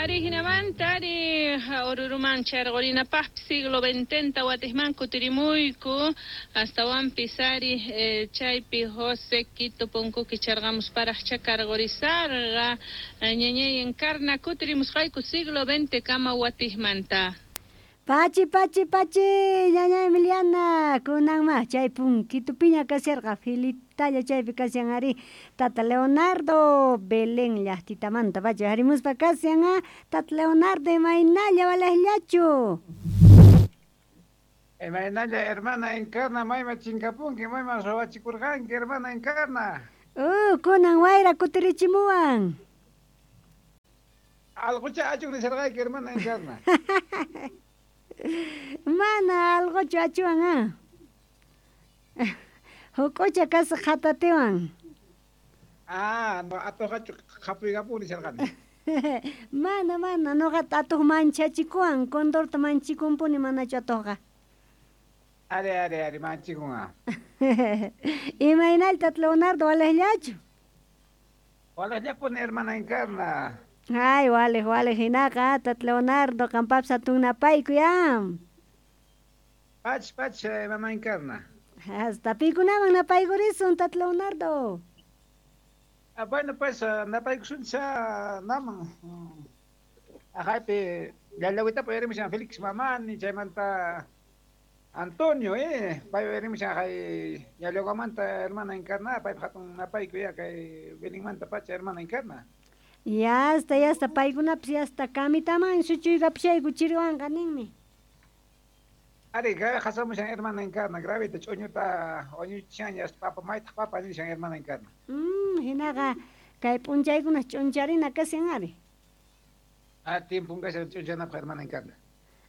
Ari hinamanta ari Oruruman charqurinapaqpis siglo XX watijman kutirimuyku astawanpis ari chaypi José Quito punkuki charqamusparaqcha karqurisarqa ñañay Encarna kutirimusqayku siglo XX kama watijmanta. Pachi, pachi, pachi, ñaña Emiliana, kunanma chay punkitupiña kasharqa filitalla chaypi kashan ari tata Leonardo Belén llaqtitamanta pachi harimuspa kashan ah tata Leonardo imaynalla walejllachu. Imaynalla hermana Encarna mayman chinkapunki mayman ruwachikurqanki hermana Encarna. Kunan wayra kutirichimuwan. Alqucha achuk nisharqayki hermana Encarna. Mana alquchu achuwan ah. Huk'ucha kasqa qhatatiwan. Ah, no atuqachu qhapuykapuni nisharqani. Mana, mana, nuqata atuq manchachikuwan, condorta manchikunpuni manachu atuqqa. Ari, ari, ari, manchikun ah. Imaynalla tata Leonardo walejllachu? Walejllapuni hermana Encarna. Ay, walej, walej hinaqa tata Leonardo qampapis hatun napaykuy ah. Pach, pach, hermana Encarna. Hasta pikunaman napaykurisun tata Leonardo. Ah, bueno, pues napaykusuncha naman. Ajaypi llallawitapi uyarimushan Felix Mamani chaymanta Antonio, pay uyarimushan ajay llallawamanta hermana Encarna, paypa hatun napaykuy ya kay Belenmanta pacha hermana Encarna. Ya está, ya está, paykunapis ya está kamitaman suchuykapishayku chiriwanqa ninmi. Ari, qasamushan hermana Encarna, gravita ch'uñuta wañuchishan ya papa maytaq papa nishan hermana Encarna. Hinaqa kay p'unchaykuna ch'uncharina kashan ari. Ah, tiempon kashan ch'unchanapaq hermana Encarna.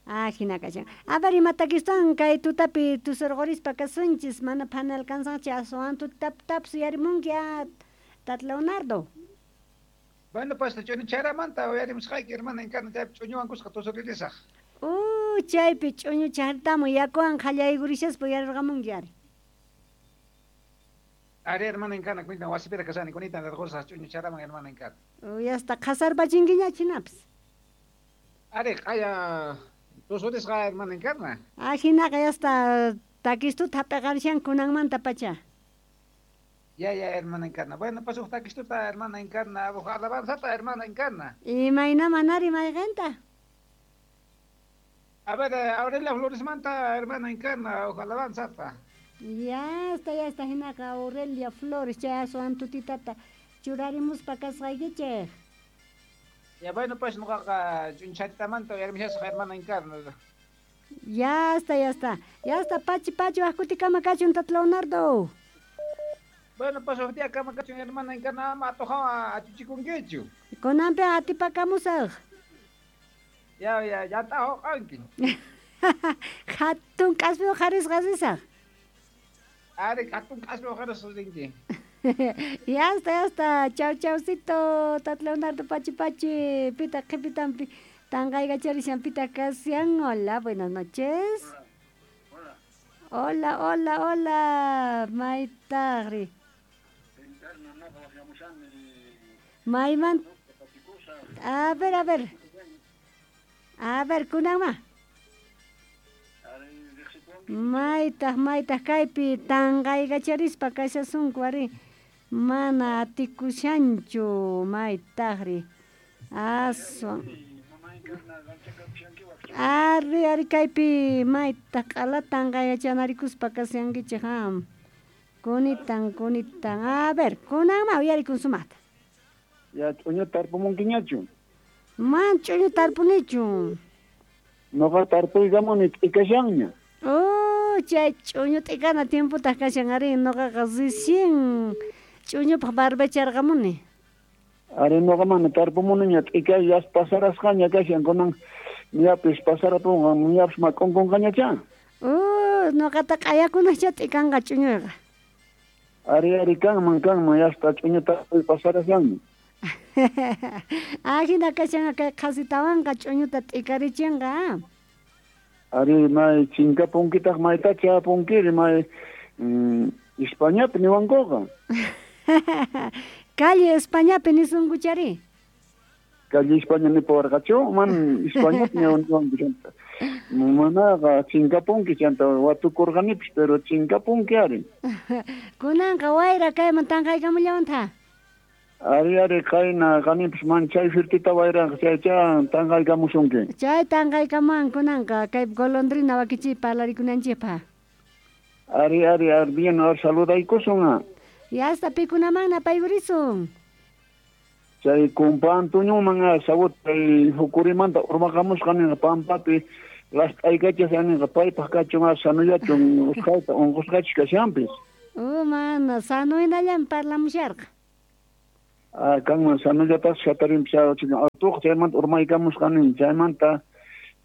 Ah, hina kashan. A ver, imatakistan kay tutapi tusurqurispa kasunchis, mana phana alcanzanchis aswan tutaptapis uyarimunki ah, tata Leonardo. Bueno, pues ch'uñucharamanta uyarimusqayki hermana Encarna, chaypi ch'uñuwan kusqa tusuririsaq. Chaypi ch'uñuchartamu yakuwan qallaykurishaspa uyarirqamunki ari. Ari, hermana Encarna, kunitan wasipiraq kashani, kunitan rirqusaq ch'uñucharaman hermana Encarna. Yasta qhasarpachinkiña hinapis. Ari, qaya tusurisqa hermana Encarna. Ah, hinaqa yasta takistuta hap'iqarishan kunanmanta pacha. Ya, ya, hermana Encarna. Bueno, pues huk takistuta hermana Encarna, huk alabanzata hermana Encarna. Imaynaman ari mayqinta? A ver, Aurelia Floresmanta, hermana Encarna, huk alabanzata. Ya está, hinaqa Aurelia Flores, chay aswan tutitata churarimuspa kasqaykichik. Ya, bueno, pues nuqaqa ch'uncharitamanta uyarimushasaq hermana Encarna. Ya está, ya está. Ya está, pachi, pachi, waq kutikama kachun, tata Leonardo. Bueno, pues huk día kama kachun hermana Encarna, ama atuqawan achuchikunkichu. Kunanpi atipakamusaq. Ya, ya, ya t'ahuqanki. Hatun k'aspi uqharisqa risaq. Ari, hatun k'aspi uqharisqa rinki. Ya está, ya está. Chau, chaucito, tata Leonardo, pachi, pachi. Pita, qhipitampi tanqaykacharishan pita kashan. Hola, buenas noches. Hola, hola, hola. Maytaqri. Mayman. A ver, a ver. A ver, kunanma. Maytaq, maytaq kaypi tanqaykacharispa kashasunku ari. Mana atikushanchu maytaqri. Aswan. Ari, ari kaypi maytaq q'ala tanqayachanarikuspa kashankichik ha. Kunitan, kunitan. A ver, kunanma uyarikun sumaqta. Ya ch'uñu tarpumunkiñachu. Man ch'uñu tarpunichu. Noqa tarpuykamuni t'ikashanña. Oh, chay ch'uñu t'ikana tiempotaq kashan ari, noqaqa recién ch'uñupaq barbecharqamuni. Ari noqa mana tarpumuniña t'ikay yas pasarasqaña kashan kunan ñapis pasarapunqa ñapis mak'unkunqañachá. Oh, noqata q'ayakunaqcha t'ikanqa ch'uñuyqa. Ari, ari, kanman, kanman, yasta ch'uñu tarpuy pasarashanmi. Ah, hina kashanqa kay qhasitawanqa ch'uñuta t'ikarichinqa, ah. Ari, may chinkapunkitaq maytacha apunkiri, may Españapi niwankuqa. Calle Españapi nisunkuchari. Calle España nipawarqachu man España ñawanwanku chanta manaqa chinkapunki chanta watukurqanipis pero chinkapunki ari. Kunanqa wayra kayman tanqaykamullawantha. Ari ari qayna qanipis man chay firtita wayranqa chaycha tanqaykamusunki. Chay tanqaykamuwan kunanqa kay golondrina wakichi parlarikunanchikpaq. Ari ari ari bien ar saludaykusun. Yasta pikunaman napaykurisun. Chay kumpa Antonioman sawut chay hukurimanta urmaqamusqa ninqa pampapi last'aykachas ninqa paypaq kachun sanuyachun usqhayta unqusqachus kashanpis. Mana sanuynallami parlamusharqa. Kanman sanullatas hatarinpis atuq chaymanta urmaykamusqa nin chaymanta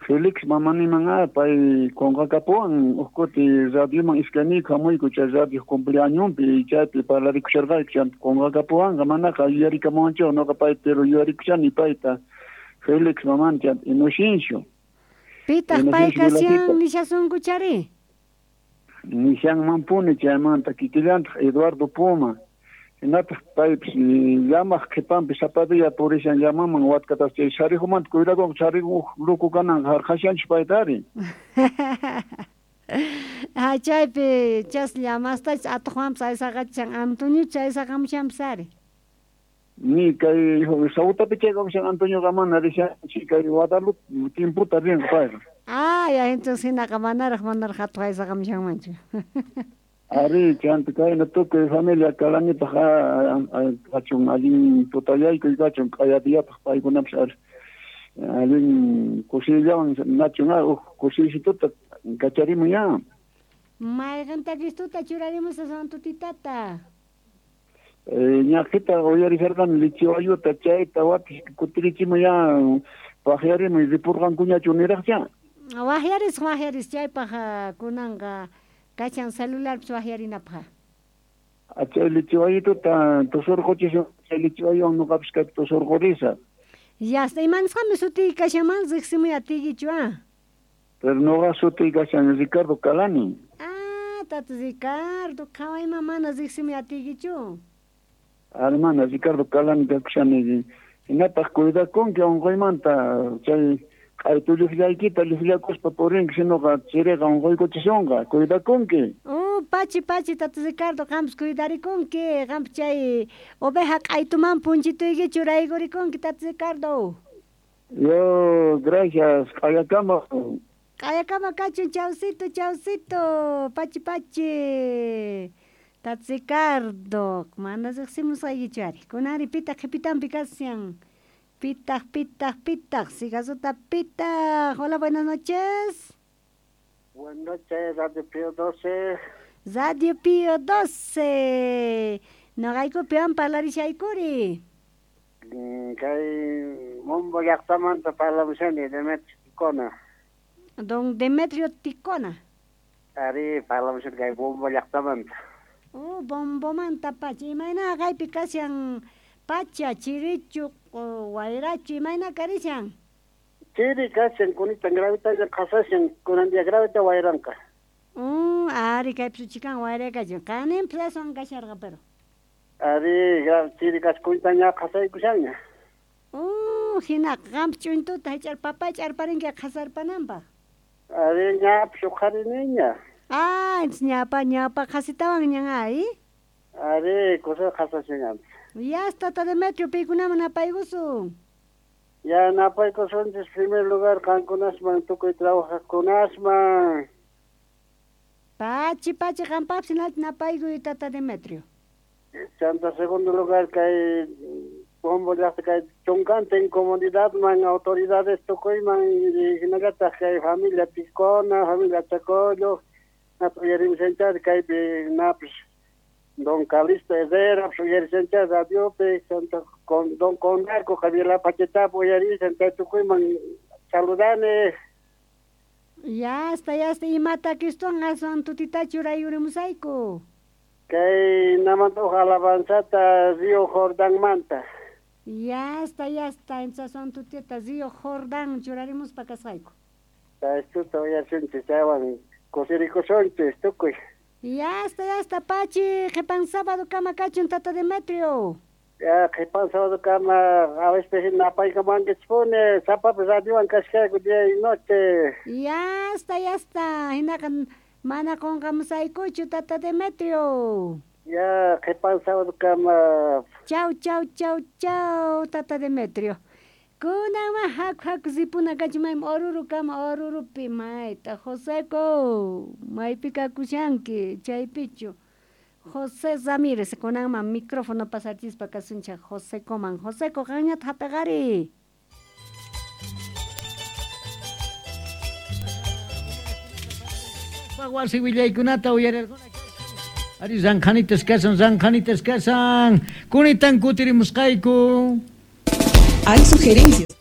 Felix mamaniman pay qunqakapuwan uj kuti radioman iskayniyku hamuyku chay radio cumpleañonpi chaypi parlarikusharqayku chanta qunqakapuwanqa manaqa yuyarikamuwanchik noqa pay pero yuyarikushani payta Felix mamani chanta Inocencio. Pitaq pay kashan nishasunkuchari? Nishanmanpuni chaymanta kikillantaq Eduardo Puma. Hinataq paypis llamaq qhipanpi sapa día purishan llamaman watkatas chay sarijumanta cuidakunqa sariju luku kananqa harqashanchis paytari. Chaypi chas llamastachis atuqwanpis aysaqachishan Antoniochus aysaqamushanpis ari. Ni kay Sautapi chaykamushan Antonioqa mana rishanchik kay Guadalupe timputa rinqa payqa. Ya entonces hinaqa manaraq atuq aysaqamushanmanchu. Ari, chanta kayna tukuy familia Kalanipaq kachun allin tutayaykuy kachun q'ayadiyapaq paykunapis allin kusiyllawan nachun uj kusiysituta kacharimun ya. Mayqanta Cristuta churarimusqa santutitata. Ñaqita uyarisharqani lichiwayuta chayta watis kutirichimun ya waqyarimuy ripurqankuñachu niraqcha. Waqyaris waqyaris chaypaq kunanqa kachan celularpis waqyarinapaq. Chay lichiwayituta tusurquchisun chay lichiwayuwan nuqapis kaypi tusurqurisa. Yasta imanisqami sutiy kashanman riqsimuy atiykichu Pero nuqa sutiy kashan Ricardo Calani. Tata Ricardo, qhawayman mana riqsimuy atiykichu. Ari mana Ricardo Calani kakushani hinataq cuidakunki unquymanta chay q'aytulluqllaykita lluqllakuspa purinki sinoqa chiriqa unquykuchisunqa cuidakunki. Pachi pachi tata Ricardo qampis cuidarikunki qampis chay oveja q'aytuman punchituyki churaykurikunki tata Ricardo. Yo gracias q'ayakama. Q'ayakama kachun chawsito chawsito pachi pachi tata Ricardo mana riqsimusqaykichu ari kunanri pitaq qhipitanpi kashan. Pitaq, pitaq, pitaq, sigasuta pitaq. Hola, buenas noches. Buenas noches, Radio Pío 12. Radio Pío 12. Noqayku piwan parlarishaykuri. Kay Mombo llaqtamanta parlamushani, Demetrio Ticona. Don Demetrio Ticona. Ari, parlamushani kay Bombo llaqtamanta. Bombomanta pacha. Imayna kaypi kashan pacha, chirichu, wayrachu, imayna karishan? Chiri kashan, kunitan gravita qasashan, kunan día gravita wayranqa. Ari kaypi suchikan wayraykachu. Qanin plaswan kasharqa pero. Ari, chiri kashan, kunitan ña qasaykushanña. Hina qampi ch'untuta hich'arpapay ch'arparinki qasarpananpaq. Ari, ñapis uqhariniña. Ñapa ñapa qasitawan ñan ay. Ari, kusa qasashan. Ya está, tata Demetrio, pikunaman napaykusun. Ya napaykusunchis primer lugar qankunasman tukuy trabajaqkunasman. Pachi pachi qampapis hinalta napaykuy tata Demetrio. Chanta segundo lugar kay Bombo llaqta kay chunkantin comunidadman autoridades tukuyman hinallataq kay familia Ticona, familia Chacollo, uyarimushanchari kaypi napis Don Calixto Herrera, uyarishancha radiopi, con Don Conarco, Javier Pachetapo, uyarishan chay tukuyman saludani. Ya está, imata Cristuwan aswan tutita churayurimusayku. Kay namanta uj alabanzata Río Jordanmanta. Ya está, entonces aswan tutita Río Jordán churarimuspa kasqayku. Chaystuta uyarishunchis chaywan kusirikusunchis tukuy. Ya está, pachi, qhipan sábado kama kachun tata Demetrio. Ya qhipan sábado kama a veces napaykamankichpuni sapapi radiowan kashkayku día y noche. Ya está, ya está. Hinaqa mana qunqamusaykuchu tata Demetrio. Ya qhipan sábado kama. Chau, chau, chau, chau, tata Demetrio. Kunanma haku haku ripuna kanchik maymi Oruro kama Orurupi mayta Joseco maypi kakushanki chaypichu. José Ramírez kunanman micrófono pasachispa kasunchik Josecoman. Joseco qanñata hap'iqari. Wasi willaykunata uyarirquna. Ari ranqhanitas kasan, ranqhanitas kasan. Kunitan kutirimusqayku. Hay sugerencias.